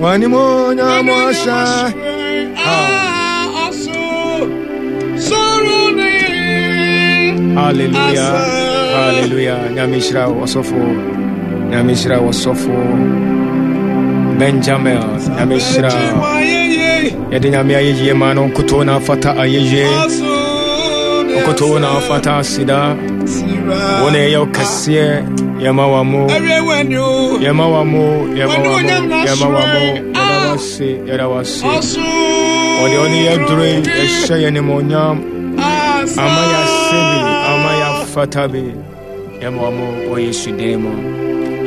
W'animuonyam ahyɛ. Hallelujah. Hallelujah. Nyame nhyira wo ɔsɔfo. Nyame nhyira wo ɔsɔfo. Benjamin. Nyame nhyira. Yɛde Nyame ayɛyie ma no nkotoo na afata ayɛyie. Nkotoo na afata aseda. Wo na ɛyɛ wo kɛseɛ. Yɛma wa mo. Yɛma wa mo. Yɛma wa mo. Yɛma wa mo. Yɛda wa se. Yɛda wa se. Ɔde ɔne yɛ duro yi ɛhyɛ yɛn nimonyam. Ama yɛ ase bi. Ama yɛ afata bi. Yɛma wa mo wɔ Yesu din mu.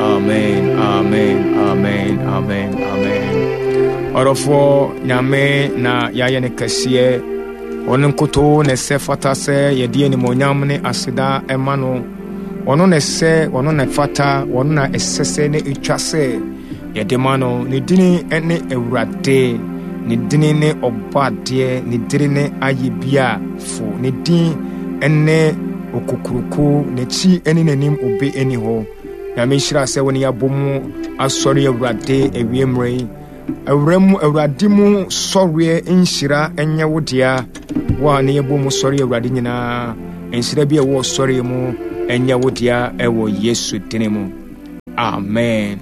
Amen. Amen. Amen. Amen. Amen. Ɔdɔfoɔ Nyame na yɛayɛ no kɛseɛ. Ɔno nkutoo na ɛsɛ fata sɛ yɛde animuonyam ne aseda ma no. Ɔno na ɛsɛ, ɔno na ɛfata, ɔno na ɛsɛ sɛ na ɛtwa sɛ yɛde ma no. Ne dini ne Awurade, ne dini ne Ɔbɔadeɛ, ne dini ne Ayɛbiafo, ne din ne Okokuroko, n'akyi ne n'anim obi nni hɔ. Nyame nhyira sɛ wo ne yɛabɔ mu asɔre Awurade awie mmerɛ yi. Awura mu Awurade mu sɔreɛ nhyira nyɛ wo dea. Wo a ne yɛbɔ mu sɔre Awurade nyinaa, nhyira bi a ɛwɔ sɔreɛ mu nyɛ wo dea ɛwɔ Yesu dini mu. Amen.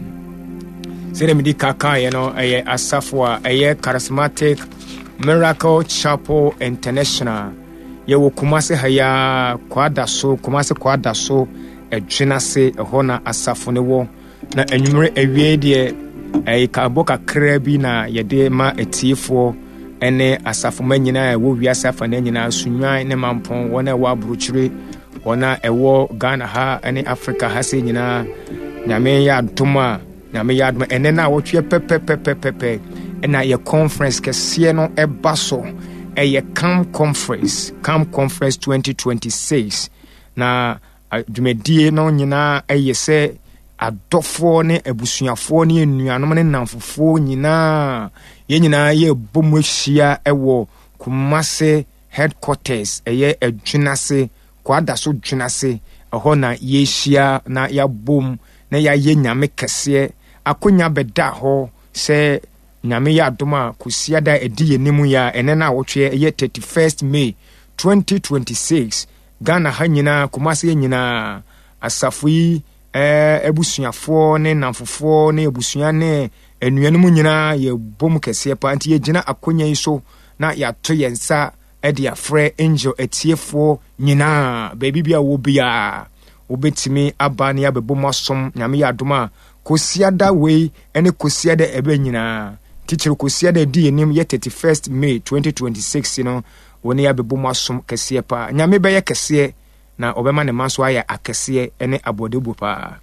Sɛdeɛ medi ka kaeɛ no, ɛyɛ asafo a ɛyɛ Charismatic Miracle Chapel International. Yɛwɔ Kumase ha yi ara, Kwadaso, Kumase Kwadaso, Ɛdwenase, ɛhɔ na asafo no wɔ. Na anwummere awiei deɛ, ɛyɛ kaabɔ kakraa bi na yɛde ma atiefoɔ ne asafomma nyinaa a ɛwɔ wiase afanan nyinaa, Sunnwan ne Mampɔn, wɔn a ɛwɔ aburokyire, wɔn a ɛwɔ Ghana ha ne Africa ha sɛ nyinaa. Nyame yɛ adom a, Nyame yɛ adom a, ɛnɛ no a wɔtweɛ pɛpɛpɛpɛpɛ ɛna yɛ conference kɛseɛ no ɛba so. Ɛyɛ CAM conference, CAM conference 2026. Na Dwumadie no nyinaa yɛ sɛ adɔfoɔ ne abusuafoɔ ne anuanom ne nnamfofoɔ nyinaa yɛn nyinaa yɛbɔ mu ahyia wɔ Kumase headquarters ɛyɛ Adwinase Kwadaso Dwinase ɛhɔ na yɛhyia na yɛabom na yɛayɛ Nyame kɛseɛ akonya bɛda hɔ sɛ Nyame yɛ adom a Kwasiada a ɛdi yɛn anim yi a ɛnɛ no awɔtweɛ ɛyɛ 31st May 2026 Ghana ha nyinaa, Kumasi ha nyinaa, asafo yi eh, abusuafoɔ ne nnamfofoɔ ne abusua ne anuanom nyinaa yɛbɔ mu kɛseɛ paa. Nti yɛgyina akonya yi so na yɛato yɛn nsa de afrɛ Angel atiefoɔ nyinaa, baabi bi a wɔ biara wobɛtumi aba ne yɛabɛbɔ mu asom. Nyame yɛ adom a, Kwasiada wei ne Kwasiada ɛbɛ nyinaa, titiri Kwasiada ɛdi yɛn anim yɛ 31st May 2026 no, Wo ne yɛabɛbɔ mu asom kɛseɛ paa. Nyame bɛyɛ kɛseɛ na ɔbɛma ne mma nso ayɛ akɛseɛ ne aboɔdɛbuo paa.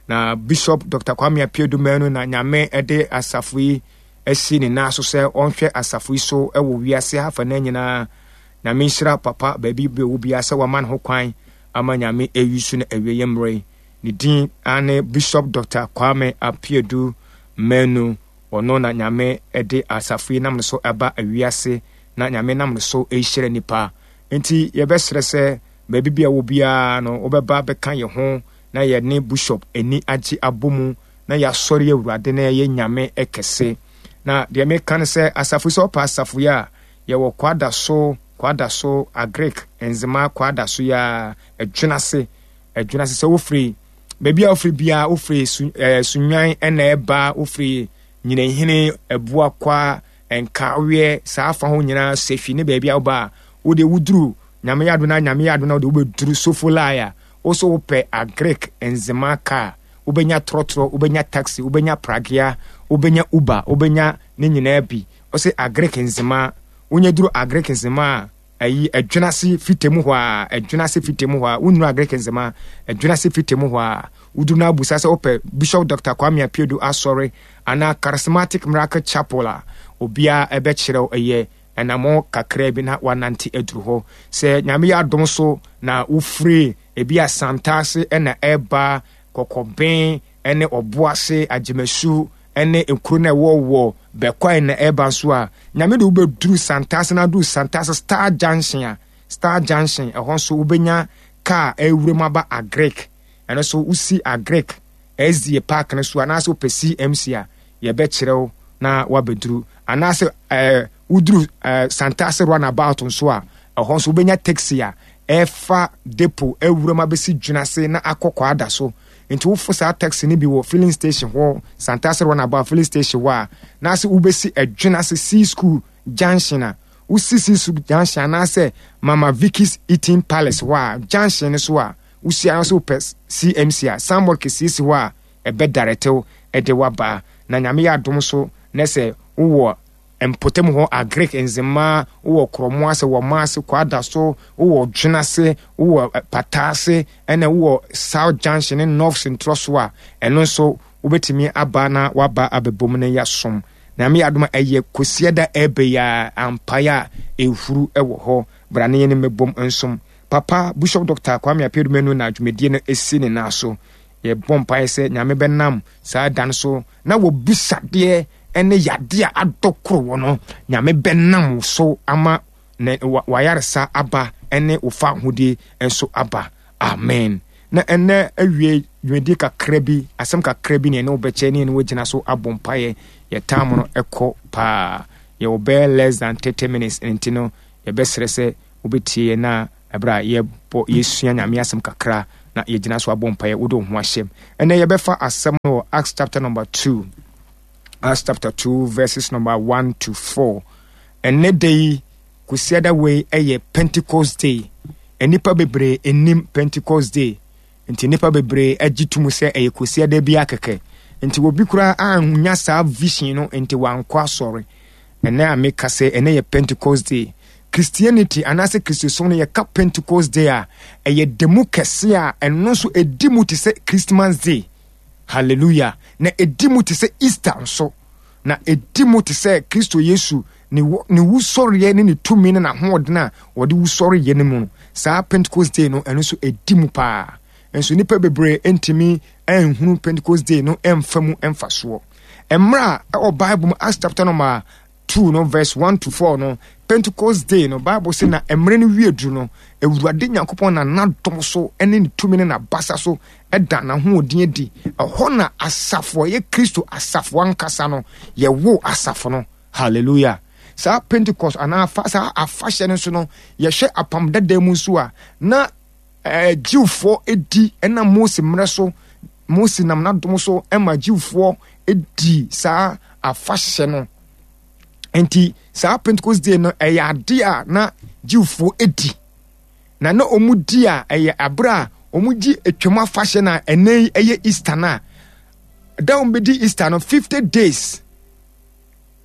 Na Bishop Dr. Kwame Appiah Manu na Nyame de asafo yi asi ne nan so sɛ ɔnhwɛ asafo yi so wɔ wiase ha afanan nyinaa. Nyame nhyira papa baabi bɛ wɔ biara sɛ wama ne ho kwan ama Nyame ayi so no awieɛ mmerɛ yi. Ne din ane Bishop Dr. Kwame Appiah Manu. Ɔno na Nyame de asafo yi nam no so aba wiase na Nyame nam no so rehyira nnipa. Enti yɛbɛsrɛ sɛ baabi bia wɔ biara no wobɛba bɛka yɛn ho na yɛne Bushop ani agye abɔ mu na yɛasɔre Awurade na yɛayɛ Nyame kɛse. Na deɛ meka ne sɛ asafo yi sɛ wopɛ asafo yi a yɛwɔ Kwadaso, Kwadaso, Agric, Nzema, Kwadaso yi ara, Adwenase, Adwenase sɛ wofiri baabi a wofiri biara wofiri su, eh, Sunwan ɛna ɛba wofiri Nyinahene, Abuakwa, Nkaweɛ, saa afa hɔ nyinaa Sehwi ne baabi a woba a, wo deɛ woduru Nyame yɛ adom na Nyame yɛ adom na wode wobɛduru Sofolai a, wo so wopɛ Agric Nzema car, wobɛnya trɔtrɔ, wobɛnya taxi, wobɛnya pragea, wobɛnya Uber, wobɛnya ne nyinaa bi. Ɔse Agric Nzema, wonya duru Agric Nzema a, Ayi, Adwenase fite mu hɔ a, Adwenase fite mu hɔ a, wonnuru Agric Nzema, Adwenase fite mu hɔ a, woduru na abusa sɛ wopɛ Bishop Doctor Kwame Apiedu Asɔre anaa Charismatic Miracle Chapel a, obiara ɛbɛkyerɛ wo, ɛyɛ anammɔn kakraa bi na woanante aduru hɔ. Sɛ Nyame yɛ adom so na wofiri ebi a Santase na ɛreba, Kɔkɔben ne Ɔboase, Agyemasu, ne nkuro no a ɛwɔ wɔ Bɛkwae na ɛreba nso a, Nyame de wobɛduru Santase na aduru Santase Star Junction a, Star Junction, ɛhɔ nso wobɛnya kaa ɛrewura mu aba Agric. Ɛno nso wosi Agric SDA park no so anaasɛ wopɛ CMC a, yɛbɛkyerɛ wo. na wabɛduru. Anaasɛ ɛɛ woduru ɛɛ Santase runabout nso a, ɛhɔ nso wobɛnya taxi a ɛfa depo awuram abɛsi Dwenase na akɔ Kwada so. Nti wofo saa taxi no bi wɔ filling station hɔ, Santase runabout filling station hɔ a, na ase wobɛsi Adwenase Sea School junction a, wosi Sea School junction anaasɛ Mama Vicky's Eating Palace hɔ a, junction no so a, wosi ara nso wopɛ CMC a, signboard kɛseɛ si hɔ a ɛbɛdaretew de waba. Na Nyame yɛ adom so na sɛ wowɔ mpɔtam hɔ Agric Nzema, wowɔ Korɔmo ase, wɔ Maase, Kwadaso, wowɔ Dwenase, wowɔ Pata ase, ɛna wowɔ South Junction ne North Sentorɔ so a, ɛno nso wobɛtumi aba na waba abɛbom na yɛasom. Nyame yɛ adom a ɛyɛ Kwasiada ɛbɛ yi a ampaeɛ a ɛhuru wɔ hɔ. Bra ne yɛne mmɛbom nsom. Papa Bishop Doctor Kwame Apeadu Manu na dwumadie no ɛsi ne nan so. Yɛbɔ mpaeɛ sɛ Nyame bɛnam saa da no so na wɔbisadeɛ ne yadeɛ a adɔ koro wɔ no, Nyame bɛnam wo so ama ne wayaresa aba ne wo fa ahodie nso aba. Amen. Na ɛnɛ awie dwumadie kakra bi, asɛm kakra bi ne ɛne wobɛkyɛ ne ɛne wogyina so abɔ mpaeɛ. Yɛ time no ɛkɔ paa. Yɛwɔ bɛyɛ less than 30 minutes nti no yɛbɛsrɛ sɛ wobɛtie yɛn na ɛberɛ a yɛbɔ yɛsua Nyame asɛm kakra na yɛgyina so abɔ mpaeɛ wode wo ho ahyɛm. Ɛnɛ yɛbɛfa asɛm no wɔ Acts chapter number 2. Acts chapter 2 verses number 1 to 4. Ɛnɛ da yi Kwasiada wei ɛyɛ Pentecost day. Nnipa bebree nnim Pentecost day. Nti nnipa bebree agye tom sɛ ɛyɛ Kwasiada bi akɛkɛ. Nti obi koraa annya saa vision no nti wankɔ asɔre. Ɛnɛ a meka sɛ ɛnɛ yɛ Pentecost day. Christianity anaasɛ Kristosom no yɛka Pentecost day a ɛyɛ da mu kɛse a ɛno nso ɛdi mu te sɛ Christmas day. Hallelujah. Na ɛdi mu te sɛ Easter nso. Na ɛdi mu te sɛ Kristo Yesu ne ne wusɔreɛ ne ne tumi ne n'ahoɔden a wɔde wusɔreɛ no mu no. Saa Pentecost day no ɛno nso ɛdi mu paa. Nso nnipa bebree ntumi nhunu Pentecost day no mfa mu mfasoɔ. Mmerɛ a ɛwɔ Bible mu Acts chapter number 2 no verse 1 to 4 no, Pentecost day no, Bible sɛ na mmerɛ no wie duru no, Awurade Nyankopɔn na n'adom so ne ne tumi ne n'abasa so da n'ahoɔden adi. Ɛhɔ na asafo a ɛyɛ Kristo asafo ankasa no, yɛwoo asafo no. Hallelujah. Saa Pentecost anaa afa, saa afahyɛ no nso no, yɛhwɛ apam dada mu nso a, na eh, Jewfoɔ di ɛnam Mose mmerɛ so, Mose nam n'adom so ma Jewfoɔ di saa afahyɛ no. Nti saa Pentecost day no ɛyɛ ade a na Jewfoɔ di. Na na wɔn di a ɛyɛ abere a wɔn gye atwam afahyɛ na ɛnɛ yi ɛyɛ Easter no a da wɔn bɛdi Easter no 50 days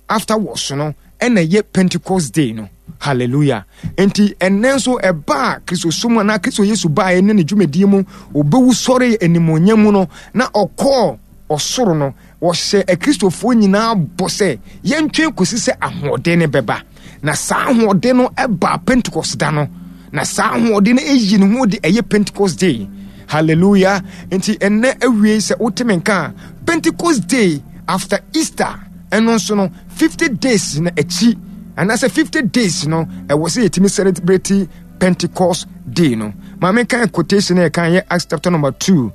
afterwards no ɛna ɛyɛ Pentecost day no. Hallelujah. Nti ɛnɛ nso ɛbaa Kristosom anaa Kristo Yesu baeɛ ne ne dwumadie mu ɔbɛwu sɔre animuonyam mu no na ɔkɔɔ ɔsoro no wɔhyɛ Akristofoɔ nyinaa bɔ sɛ yɛntwɛn kɔsi sɛ ahoɔden no bɛba. Na saa ahoɔden no ɛbaa Pentecost da no. Na saa ahoɔden no ɛyi ne ho de ɛyɛ Pentecost day. Hallelujah. Nti ɛnɛ awie sɛ wote me nka a Pentecost day after Easter ɛno nso no 50 days na akyi anaasɛ 50 days no ɛwɔ sɛ yɛtumi celebrate Pentecost day no. Maame kan quotation a ɛkan yɛ Acts chapter number 2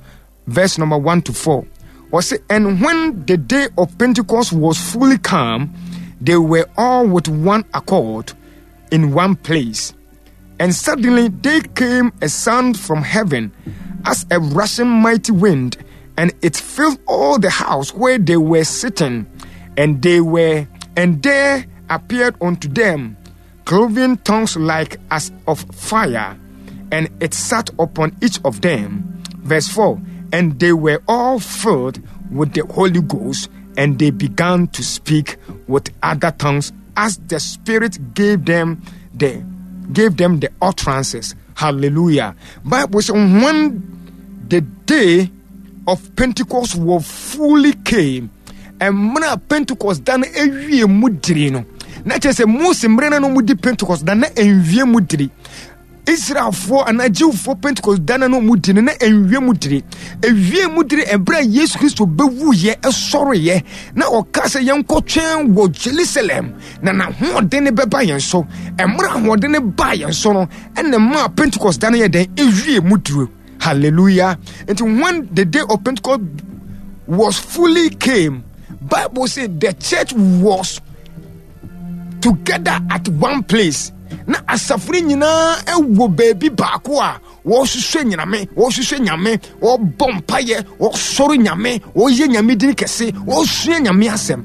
verse number 1 to 4. Ɔse, and when the day of Pentecost was fully come, they were all with one accord in one place. And suddenly there came a sound from heaven as a rushing mighty wind, and it filled all the house where they were sitting. And they were, and there appeared unto them cloven tongues like as of fire, and it sat upon each of them. Verse 4 And they were all filled with the Holy Ghost, and they began to speak with other tongues as the Spirit gave them the gave them the utterances. Hallelujah. Bible says when the day of Pentecost was fully came, mmerɛ a Pentecost da no awie mu diri no, na kyerɛ sɛ Mose mmerɛ no na wɔdi Pentecost da na ɛnwie mu diri. Israelfoɔ anaa Jewfoɔ Pentecost da no na wɔdi no na ɛnwie mu diri. Ɛwie mu diri ɛberɛ a Yesu Kristo bɛwuiɛ ɛsɔreeɛ na ɔka sɛ yɛnkɔtwɛn wɔ Jerusalem na n'ahoɔden no bɛba yɛn so. Ɛmmerɛ ahoɔden no baa yɛn so no ɛna maa Pentecost da no yɛ dɛn ɛwie mu duro. Hallelujah. Nti when the day of Pentecost was fully came, Bible say the church was together at one place. Na asafo no nyinaa wɔ baabi baako a wɔhwehwɛ nyame, wɔhwehwɛ nyame, wɔbɔ mpaeɛ, wɔsɔre nyame, wɔyɛ nyame din kɛse, wɔsua nyame asɛm.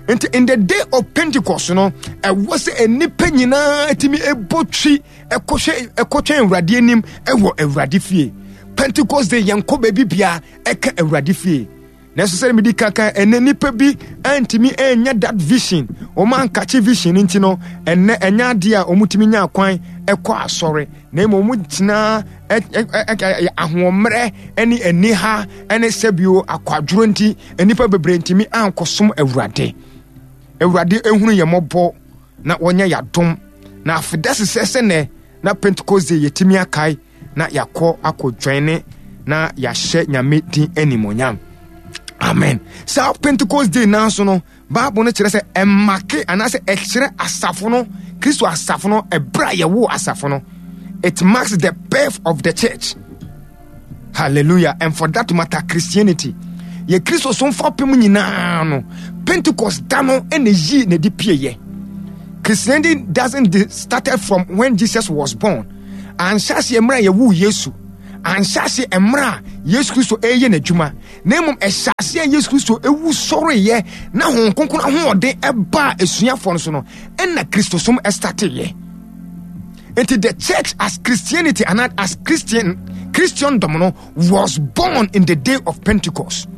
Nti in the day of Pentecost no, ɛwɔ sɛ nnipa nyinaa tumi bɔ twi ɛkɔhwɛ ɛkɔtwɛn Awurade anim ɛwɔ Awurade fie. Pentecost day yɛnkɔ baabi bia ɛka Awurade fie. Nanso sɛ medi kaka ɛnɛ nnipa bi antumi anya that vision, wɔn ankakye vision nti no, ɛnɛ ɛnyɛ adeɛ a wɔtumi nya kwan ɛkɔ asɔre, na mmom wɔn tena ahoɔmmerɛ ne aniha ne sɛbio akwadworɔ nti nnipa bebree ntumi ankɔsom Awurade. Awurade ehunu yɛn mmɔbɔ na wɔnyɛ yɛadom na afeda sesɛ sɛ nɛ na Pentecost Day yɛtumi akae na yɛakɔ akɔdwɛne na yɛahyɛ Nyame din animonyam. Amen. Saa Pentecost Day naa so no, Bible no kyerɛ sɛ ɛmake anaasɛ ɛkyerɛ asafo no, Kristo asafo no, ɛberɛ a yɛwoo asafo no. It marks the birth of the church. Hallelujah. And for that matter, Christianity. Yɛ Kristo so mfapem nyinaa no, Pentecost da no na yii na ɛde pieeɛ. Christianity doesn't started from when Jesus was born. Anhyɛ aseɛ mmerɛ a yɛwoo Yesu. Anhyɛ aseɛ mmerɛ a Yesu Kristo ɛreyɛ n'adwuma. Na mmom ɛhyɛ aseɛ Yesu Kristo ewu sɔreeɛ na Honhom Kronkron ahoɔden ɛbaa asuafoɔ no so no, ɛna Kristosom ɛstarteeɛ. Nti the church as Christianity and as Christian Christendom no was born in the day of Pentecost.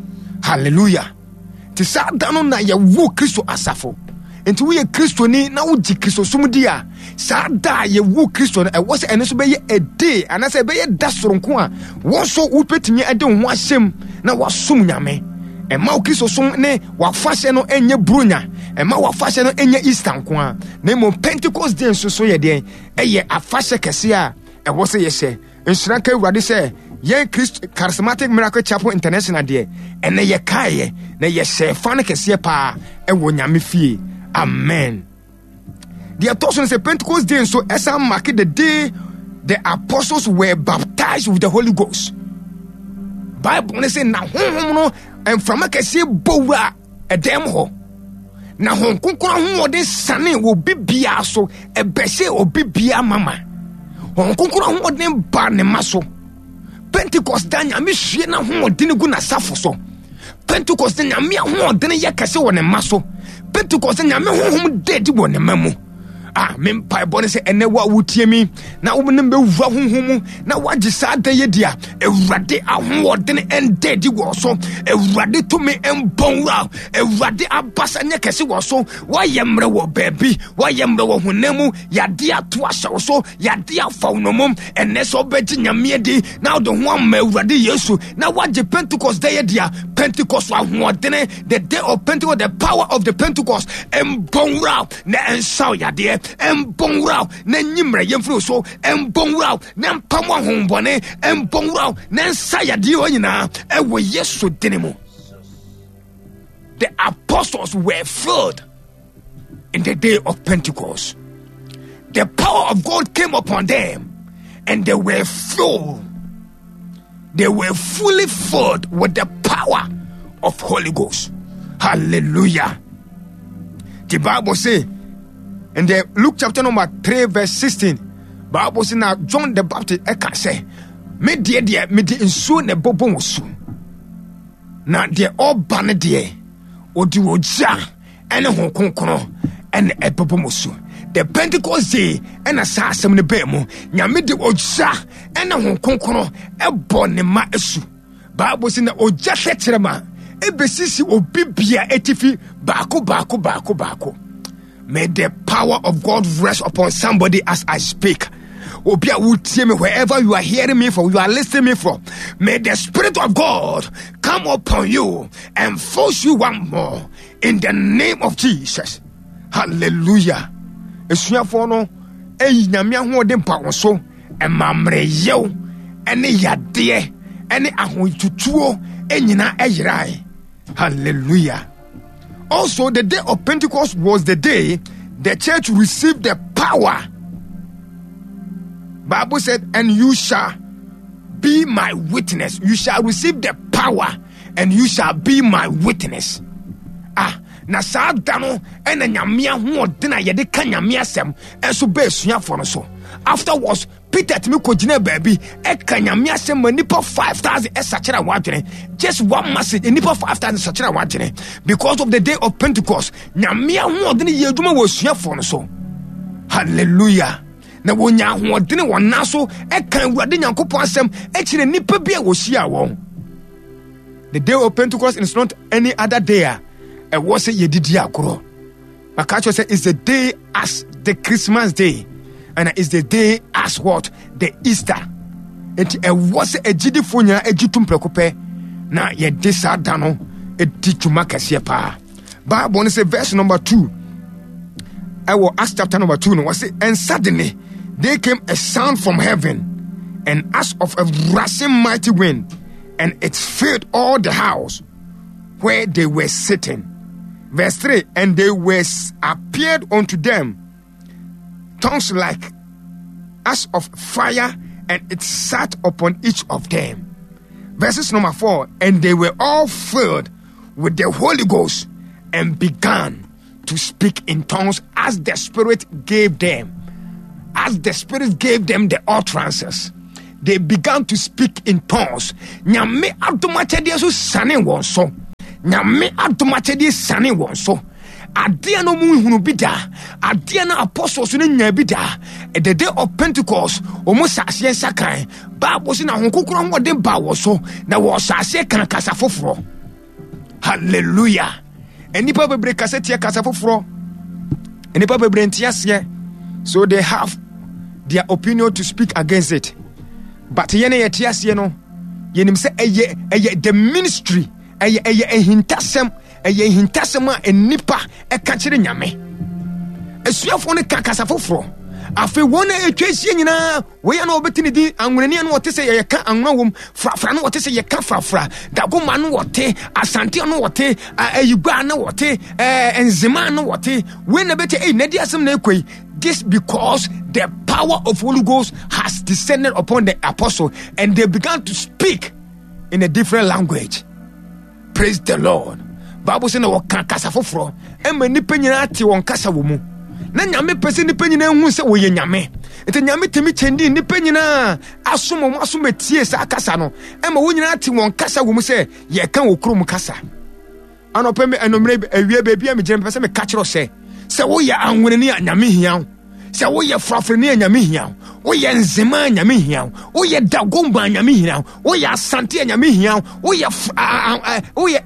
Hallelujah. Nti saa da no na yɛwo Kristo asafo. Nti woyɛ Kristoni na wogye Kristosom di a, saa da a yɛwo Kristo no, ɛwɔ sɛ ɛno nso bɛyɛ a day anaasɛ ɛbɛyɛ da soronko a wɔn nso wobɛtumi de wo ho ahyɛm na wasom Nyame. Ɛma wo Kristosom ne w'afahyɛ no nyɛ Buronya, ɛma w'afahyɛ no nyɛ Easter nko ara, na mmom Pentecost day nso so yɛ deɛn? Ɛyɛ afahyɛ kɛseɛ a ɛwɔ sɛ yɛhyɛ. Nhyira nka Awurade sɛ yɛn Christ Charismatic Miracle Chapel International deɛ ɛnɛ yɛkaeɛ na yɛhyɛ fa no kɛseɛ paa ɛwɔ Nyame fie. Amen. Deɛ ɛtɔ so no sɛ Pentecost day nso ɛsan mark the day the apostles were baptized with the Holy Ghost. Bible no sɛ na honhom no mframa kɛseɛ bɔ wura ɛdɛm hɔ na Honhom Kronkron ahoɔden sane wɔ obi biara so, ɛbɛhyɛ obi biara mama. Honhom Kronkron ahoɔden ba ne ma so. Pentecost da Nyame hwie n'ahoɔden gu n'asafo so. Pentecost da Nyame ahoɔden yɛ kɛse wɔ ne ma so. Pentecost da Nyame honhom da adi wɔ ne ma mu. Ah, me mpaebɔ ne sɛ ɛnɛ wo a wotie mi na wo ne bɛwura honhom mu na woagye saa da yɛ di a, Awurade ahoɔden ɛnda adi wɔ so. Awurade tumi mbɔ nwura. Awurade abasa nyɛ kɛse wɔ so. Woayɛ mmerɛ wɔ baabi, woayɛ mmerɛ wɔ honam mu, yɛade ato ahyɛ wo so, yɛade afa wo nomom. Ɛnɛ sɛ wobɛgye Nyame adi na wode ho ama Awurade Yesu na woagye Pentecost da yɛ di a, Pentecost ahoɔdene, the day of Pentecost, the power of the Pentecost mbɔ nwura na ɛnsaw yadeɛ, ɛmbɔ nwura na nyi mmerɛyɛ mfiri so, ɛmbɔ nwura na mpam ahombɔne, ɛmbɔ nwura na ɛnsa yadeɛ hɔ nyinaa ɛwɔ Yesu dini mu. The apostles were filled in the day of Pentecost. The power of God came upon them and they were filled. They were fully filled with the power of Holy Ghost. Hallelujah. The Bible say in the Luke chapter number 3 verse 16, Bible say now John the Baptist eka say, me deɛ deɛ me de nsuo na ɛbɔbɔ wɔ su. Na deɛ ɔba no deɛ ɔde ogya ɛne ho kronkron ɛna ɛbɛbɔ mo su. The Pentecost day ɛna saa asɛm no bɛɛ mu. Nyame de ogya ɛne ho kronkron ɛbɔ ne ma asu. Bible sɛ na ogya tɛkyerɛma ɛbɛsisi obi bia atifi baako baako baako baako. May the power of God rest upon somebody as I speak. Obi a wotie me wherever you are hearing me from, you are listening me from. May the Spirit of God come upon you and force you one more in the name of Jesus. Hallelujah. Esuafoɔ no eyi nyame ahoɔden pa wɔn so ɛma mmerɛyɛw ɛne yadeɛ ɛne ahotutuo nyinaa ɛyerae. Hallelujah. Also, the day of Pentecost was the day the church received the power. Bible said, and you shall be my witness. You shall receive the power and you shall be my witness. Na saa da no ɛna Nyame ahoɔden a yɛde ka Nyame asɛm ɛnso bɛɛ asuafoɔ no so. Afterwards, Peter tumi kɔgyina baabi ɛka Nyame asɛm ma nipa 5,000 ɛsakyera wɔn adwene. Just one message, nipa 5,000 sakyera wɔn adwene. Because of the day of Pentecost, Nyame ahoɔden yɛ adwuma wɔ asuafoɔ no so. Hallelujah. Na wɔnya ahoɔden wɔn nan so ɛka Awurade Nyankopɔn asɛm ɛkyerɛ nipa bi a wɔhyia wɔn. The day of Pentecost is not any other day a ɛwɔ sɛ yɛdidi agorɔ. Maka kyerɛ sɛ it's the day as the Christmas day and it's the day as what the Easter. Nti ɛwɔ sɛ agyidifoɔ nyinaa agyi tom prɛko pɛ na yɛde saa da no di dwuma kɛseɛ paa. Bible no sɛ verse number 2 ɛwɔ Acts chapter number 2 no wɔse and suddenly there came a sound from heaven and as of a rushing mighty wind and it filled all the house where they were sitting. Verse 3 And they were appeared unto them tongues like as of fire, and it sat upon each of them. Verses number 4 And they were all filled with the Holy Ghost and began to speak in tongues as the Spirit gave them. As the Spirit gave them the utterances, they began to speak in tongues. Nyame adomakyɛdeɛ so sane wɔn so. Nyame adomakyɛdeɛ sane wɔn so. Adeɛ no mu nhunu bi da. Adeɛ no apostles no nya bi da. The day of Pentecost, wɔn hyɛ aseɛ nsa kan. Bible sɛ na Honhom Kronkron ahoɔden baa wɔ so na wɔhyɛ aseɛ kan kasa foforɔ. Hallelujah. Nnipa bebree kasa tia kasa foforɔ. Nnipa bebree nte aseɛ. So they have their opinion to speak against it. But yɛn a yɛte aseɛ no, yɛnim sɛ ɛyɛ ɛyɛ the ministry, ɛyɛ ɛyɛ ahintasɛm, ɛyɛ ahintasɛm a nnipa ɛka kyerɛ Nyame. Asuafoɔ no ka kasa foforɔ. Afei wɔn a atwa ahyia nyinaa Wei a na wɔbɛte ne din anwonani a na wɔte sɛ yɛka anwona wom, frafra na wɔte sɛ yɛka frafra, dagoma no wɔte, asante no wɔte, ayigua no wɔte, nzema no wɔte. Wei na bɛte, ei, na di asɛm na ɛkɔ yi. This because the power of Holy Ghost has descended upon the apostle and they began to speak in a different language. Praise the Lord. Bible sɛ na wɔka kasa foforɔ ɛma nnipa nyinaa te wɔn kasa wɔ mu. Na Nyame pɛ sɛ nnipa nyinaa hu sɛ wɔyɛ Nyame. Nti Nyame tumi kyɛndi nnipa nyinaa asom wɔn asom etie saa kasa no ɛma wɔn nyinaa te wɔn kasa wɔ mu sɛ yɛka wɔ kurom kasa. Anɔpɛ me anumere awie baabi a megyina mepɛ sɛ meka kyerɛ sɛ sɛ woyɛ anweneni a Nyame hia wo. Sɛ woyɛ frafrani a Nyame hia wo. Woyɛ nzema a Nyame hia wo. Woyɛ dagomba a Nyame hia wo. Woyɛ asante a Nyame hia wo. Woyɛ woyɛ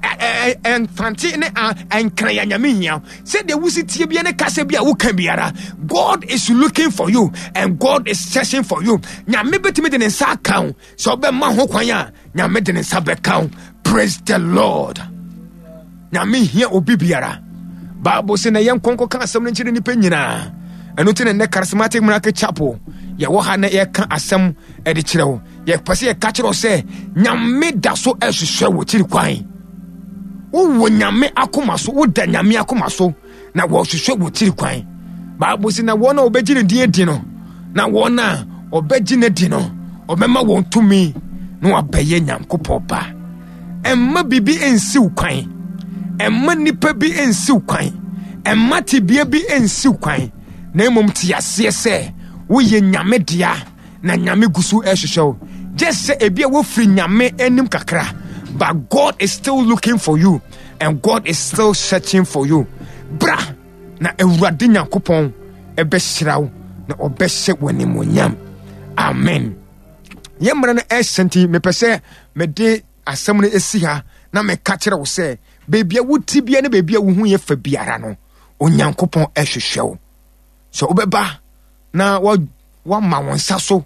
mfante ne nkran a Nyame hia wo. Sɛdeɛ wosi tie bia ne kasa bi a woka biara, God is looking for you and God is searching for you. Nyame bɛtumi de ne nsa aka wo. Sɛ ɔbɛma ho kwan a, Nyame de ne nsa bɛka wo. Praise the Lord. Nyame hia obi biara. Bible sɛ na yɛn nkɔnkɔ ka asɛm no nkyerɛ nnipa nyinaa. Ɛno nti na nnɛ Charismatic Miracle Chapel yɛwɔ ha na yɛka asɛm de kyerɛ wo. Yɛpɛ sɛ yɛka kyerɛ wo sɛ Nyame da so ɛhwehwɛ wo kyiri kwan. Wowɔ Nyame akoma so, woda Nyame akoma so na wɔhwehwɛ wo kyiri kwan. Bible sɛ na wɔn a wɔbɛgye ne din adi no, na wɔn a wɔbɛgye no adi no, ɔbɛma wɔn tumi na wɔabɛyɛ Nyankopɔn ba. Ɛmma biribi nsiw kwan. Ɛmma nnipa bi nsiw kwan. Ɛmma tebea bi nsiw kwan. Na mmom te aseɛ sɛ woyɛ Nyame dea na Nyame gu so ɛhwehwɛ wo. Just sɛ ebi a wofiri Nyame anim kakra, but God is still looking for you and God is still searching for you. Bra na Awurade Nyankopɔn ɛbɛhyira wo na ɔbɛhyɛ w'animuonyam. Amen. Yɛn mmerɛ no ɛhyɛ nti mepɛ sɛ mede asɛm no si ha na meka kyerɛ wo sɛ baabi a wote bia ne baabi a wohu yɛ fa biara no Onyankopɔn ɛhwehwɛ wo sɛ wobɛba na wama wo nsa so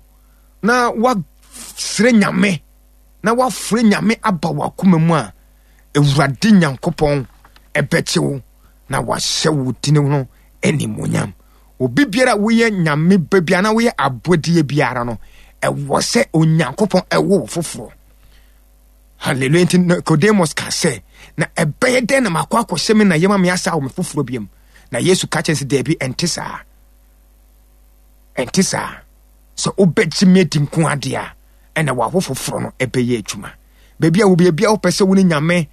na wasrɛ Nyame na wafrɛ Nyame aba w'akoma mu a Awurade Nyankopɔn ɛbɛkye wo na wahyɛ wo dini no animuonyam. Obi biara a woyɛ Nyame ba biara na woyɛ abɔdeɛ biara no, ɛwɔ sɛ Onyankopɔn ɛwo wo foforɔ. Hallelujah. Nti Nicodemus ka sɛ, na ɛbɛyɛ dɛn na makɔ akɔhyɛ me na yɛma me asa awo me foforɔ biam? Na Yesu ka kyerɛ sɛ, daabi, ɛnte saa. Ɛnte saa. Sɛ wobɛgye me adi nko adeɛ a, ɛna wawo foforɔ no ɛbɛyɛ adwuma. Baabi a wo baabi a wopɛ sɛ wo ne Nyame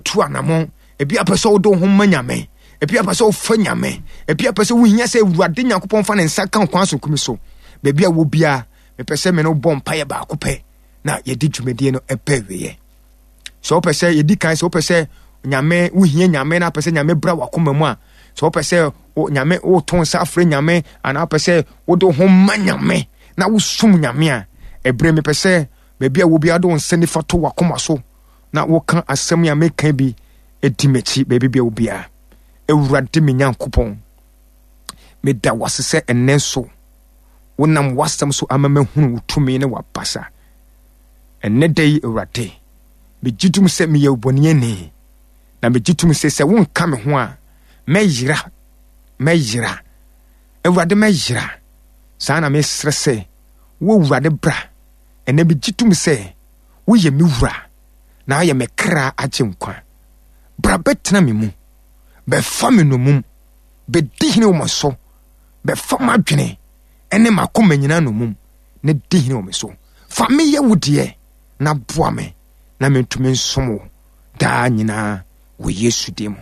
tu anamɔn. Ebi apɛ sɛ wode wo ho ma Nyame. Ebi apɛ sɛ wofa Nyame. Ebi apɛ sɛ wohia sɛ Awurade Nyankopɔn fa ne nsa ka wo kwan so kumi so. Baabi a wɔ biara, mepɛ sɛ me ne wo bɔ mpaeɛ baako pɛ na yɛde dwumadie no ɛbɛ awieɛ. Sɛ wopɛ sɛ yɛdi kan sɛ wopɛ sɛ Nyame wohia Nyame na apɛ sɛ Nyame bra wakoma mu a, sɛ wopɛ sɛ Nyame woto nsa afrɛ Nyame anaa wopɛ sɛ wode wo ho ma Nyame na wosom Nyame a, ɛberɛ mepɛ sɛ baabi a wɔ biara de wo nsa nifa to wakoma so na woka asɛm a meka bi di m'akyi baabi bia obiara. Awurade me Nyankopɔn, meda wase sɛ ɛnnɛ nso wonam w'asɛm so ama mahunu wo tumi ne w'abasa. Ɛnnɛ da yi, Awurade, megye tom sɛ meyɛ obɔneani, na megye tom sɛ sɛ wonka me ho a, mɛyera, mɛyera. Awurade, mɛyera. Saa na mesrɛ sɛ, wo Awurade bra. Ɛnnɛ megye tom sɛ woyɛ me wura na ayɛ me kra agyenkwa. Bra bɛtena me mu, bɛfa me nnommum, bɛdi hene wɔ me so, bɛfa m'adwene ne m'akoma nyinaa nnommum na di hene wɔ me so. Fa me yɛ wo deɛ na boa me na mentumi nsom wo daa nyinaa wɔ Yesu din mu.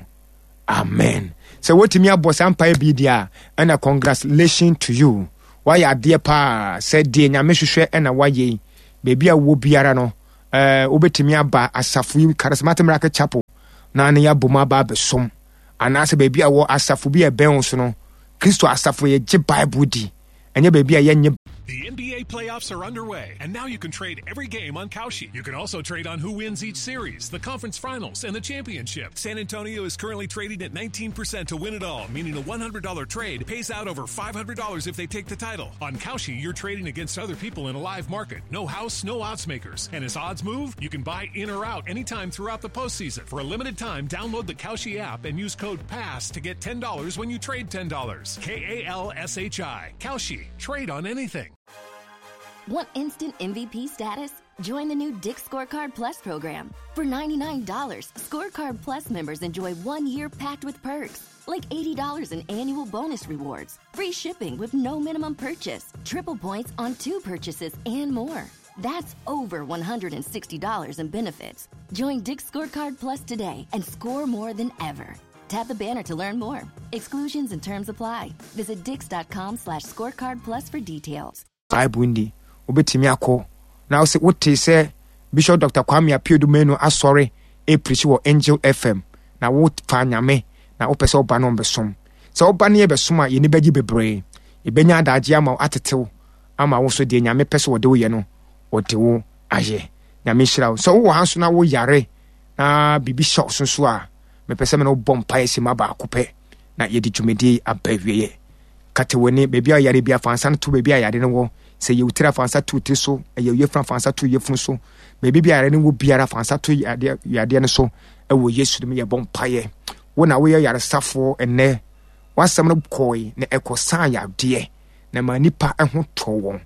Amen. Sɛ wotumi abɔ saa mpaeɛ bi deɛ a, ɛna congratulations to you. Woayɛ adeɛ paa sɛ deɛ Nyame hwehwɛ ɛna woayɛ yi. Baabi a wowɔ biara no, ɛɛ wobɛtumi aba asafo yi Charismatic Miracle Chapel na ne yɛabɔ mu aba abɛsom. Anaasɛ baabi a wɔ asafo bi a ɛbɛn wo so no, Kristo asafo yɛgye Bible di. Ɛnyɛ baabi a yɛnnye The NBA playoffs are underway, and now you can trade every game on Kalshi. You can also trade on who wins each series, the conference finals, and the championship. San Antonio is currently trading at 19% to win it all, meaning a $100 trade pays out over $500 if they take the title. On Kalshi, you're trading against other people in a live market. No house, no odds makers. And as odds move, you can buy in or out anytime throughout the postseason. For a limited time, download the Kalshi app and use code PASS to get $10 when you trade $10. K A L S H I. Kalshi. Trade on anything. Want instant MVP status? Join the new Dick's Scorecard Plus program. For $99, Scorecard Plus members enjoy 1 year packed with perks, like $80 in annual bonus rewards, free shipping with no minimum purchase, triple points on 2 purchases, and more. That's over $160 in benefits. Join Dick's Scorecard Plus today and score more than ever. Tap the banner to learn more. Exclusions and terms apply. Visit dix.com/scorecard plus for details. Bible nni. Wobɛtumi akɔ na wosɛ wotee sɛ Bishop Dr. Kwame Appiah Manu asɔre ɛpirikyi wɔ Angel FM na wofa Nyame na wopɛ sɛ woba no ɔmbɛsom. Sɛ woba ne yɛbɛsom a yɛni bɛgye bebree. Yɛbɛnya adagye ama wo atetew ama wo so deɛ Nyame pɛ sɛ wɔde wo yɛ no wɔde wo ayɛ. Nyame nhyira wo. Sɛ wowɔ ha nso na woyare na biribi hyɛ wo so nso a mepɛ sɛ me ne wo bɔ mpaeɛ simma baako pɛ na yɛde dwumadie yi aba awieɛ. Kata w'ani, baabi a yare bi afa nsa no to baabi a yare no wɔ. Sɛ yɛ wo tiri afa nsa to wo tiri so, ɛyɛ wo yafunu afa nsa to yafunu so. Baabi bi a yare no wɔ biara fa nsa to yadeɛ yadeɛ no so ɛwɔ Yesu dim yɛbɔ mpaeɛ. Wo na woyɛ yaresafoɔ ɛnɛ. W'asɛm no kɔe na ɛkɔsaa yadeɛ na ma nnipa ho tɔɔ wɔn.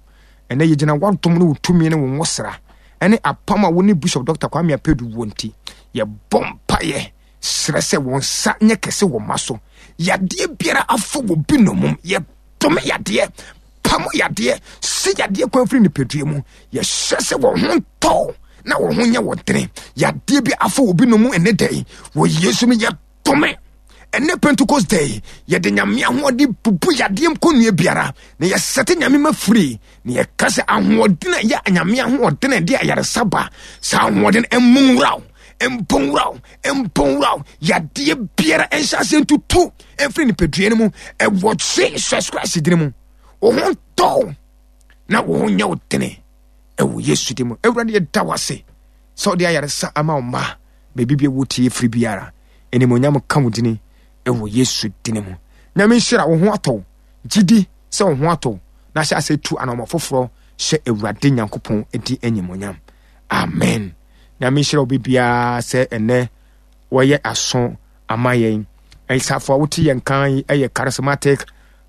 Ɛnɛ yɛgyina w'adom ne wo tumi ne wo nwosra ɛne apam a wo ne Bishop Dr. Kwame Apedu wɔ nti, yɛbɔ mpaeɛ srɛ sɛ wɔn nsa nyɛ kɛse wɔ ma so. Yadeɛ biara afɔ wɔ bi nomum, yɛdome yadeɛ, pam yadeɛ, si yadeɛ kwan firi nipadua mu. Yɛhyɛ sɛ wɔn ho ntɔ na wɔn ho nyɛ wɔn dene. Yadeɛ bi afɔ wɔ bi nomum ɛnɛ da yi, wɔ Yesu mu yɛdome. Ɛnɛ Pentecost Day, yɛde Nyame ahoɔden bubu yadeɛ nkɔnnua biara, na yɛsɛte Nyame ma firi, na yɛka sɛ ahoɔden a ɛyɛ Nyame ahoɔden a ɛde ayaresa ba, saa ahoɔden mmu nwura wo, mpo nwura wo, mpo nwura wo, yadeɛ biara nhyɛ aseɛ ntutu mfiri nipadua no mu, ɛwɔ Jesus Christ din mu. Wo ho ntɔ wo, na wo ho nyɛ wo dene, ɛwɔ Yesu din mu. Awurade yɛda wo ase sɛ wode ayaresa ama wo mma. Baabi bia wotie firi biara, animonyam ka wo dini ɛwɔ Yesu dini mu. Nyame nhyira wo ho atɔ wo, gyidi sɛ wo ho atɔ wo, na hyɛ ase tu anɔmɔ foforɔ hyɛ Awurade Nyankopɔn di animonyam. Amen. Nyame nhyira wo bibiara sɛ ɛnɛ wɔyɛ aso ama yɛn. Ɛsafo a wote yɛn kan yi ɛyɛ Charismatic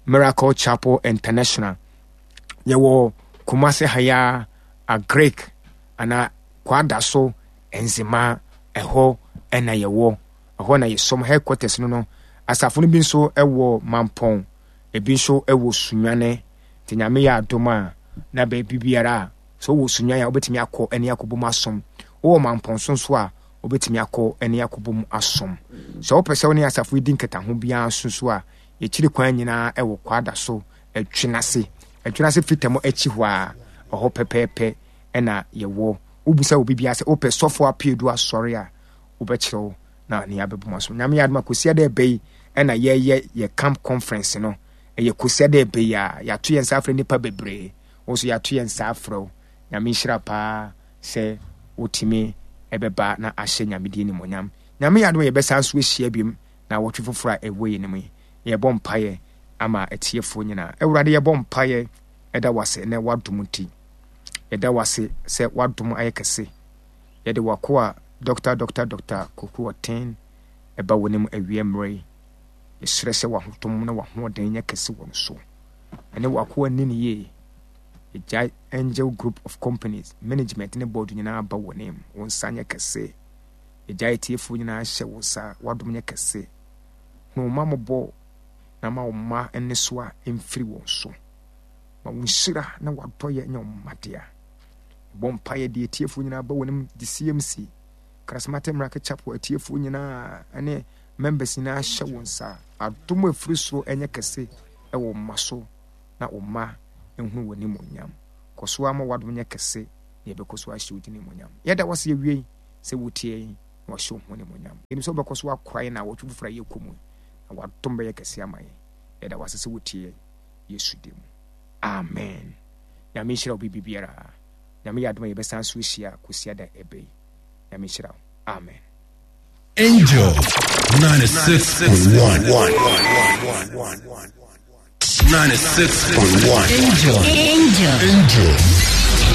Miracle Chapel International. Yɛwɔ Kumasi ha Agric anaa Kwadaso Nzema, ɛhɔ na yɛwɔ. Ɛhɔ na yɛsom headquarters no no. Asafo no bi nso wɔ Mampɔn, ebi nso wɔ Sunyane. Nti Nyame yɛ adom a, na baabi biara a, sɛ wowɔ Sunyane a, wobɛtumi akɔ ne akɔbom asom. Wowɔ Mampɔn so nso a, Wobɛtumi akɔ ne akɔbɔ mu asom. Sɛ wopɛ sɛ wo ne asafo yi di nkitaho biara nso so a, yɛkyiri kwan nyinaa wɔ Kwada so Atwinase. Atwinase Fitam akyi hɔ a, ɛhɔ pɛpɛɛpɛ na yɛwɔ. Wobisa obi biara sɛ wopɛ Sɔfo Apeadu Asɔre a, wobɛkyerɛ wo na ne yɛabɛbɔ mu asom. Nyame yɛ adom a, Kwasiada ɛbɛ yi na yɛyɛ yɛ camp conference no. Ɛyɛ Kwasiada ɛbɛ yi a, yɛato yɛn nsa afrɛ nnipa bebree. Wo nso yɛato yɛn nsa afrɛ wo. Nyame nhyira paa sɛ wotumi ɛbɛba na ahyɛ Nyame din animuonyam. Nyame yɛ adom a yɛbɛsan so ahyia biom naawɔtwe foforɔ a ɛwɔ yɛn anim yi. Yɛbɔ mpaeɛ ama atiefoɔ nyinaa. Awurade yɛbɔ mpaeɛ ɛda wo ase ɛnɛ w'adom nti. Yɛda wo ase sɛ w'adom ayɛ kɛse. Yɛde w'akoa Dɔkta Dɔkta Dɔkta Koku Ɔten ɛba w'anim awia mmerɛ yi. Yɛsrɛ sɛ w'ahotom na w'ahoɔden nyɛ kɛse wɔ no so. Ɛne w'akoa nni no yie. Yɛgyae Angel Group of Companies management ne board nyinaa ba w'anim. Wo nsa nyɛ kɛse. Yɛgyae atiefoɔ nyinaa hyɛ wo nsa. W'adom nyɛ kɛse. Hu wo mma mmɔbɔ na ma wo mma nnesoa mfiri wɔn so. Ma wo nhyira na w'adɔeɛ nyɛ wo mma dea. Yɛbɔ mpaeɛ de atiefoɔ nyinaa ba w'anim de CMC, Charismatic Miracle Chapel atiefoɔ nyinaa ne members nyinaa hyɛ wo nsa. Adom a ɛfiri soro nyɛ kɛse wɔ wo mma so na wo mma nhunu w'animuonyam. Kɔ so ara ma w'adom nyɛ kɛse na yɛbɛkɔ so ahyɛ wo din animuonyam. Yɛda wo ase awiei sɛ wotie yɛn na wahyɛ wo ho animuonyam. Yɛnim sɛ wobɛkɔ so akora yɛn naawɔtwe foforɔ a yɛkɔ mu yi, na w'adom bɛyɛ kɛse ama yɛn. Yɛda wo ase sɛ wotie yɛn. Yesu din mu. Amen. Nyame nhyira wo biribiara. Nyame yɛ adom a yɛbɛsan so ahyia Kwasiada ɛbɛ yi. Nyame nhyira wo. Amen. Angel 96.1. 96.1. Angel. Angel. Angel.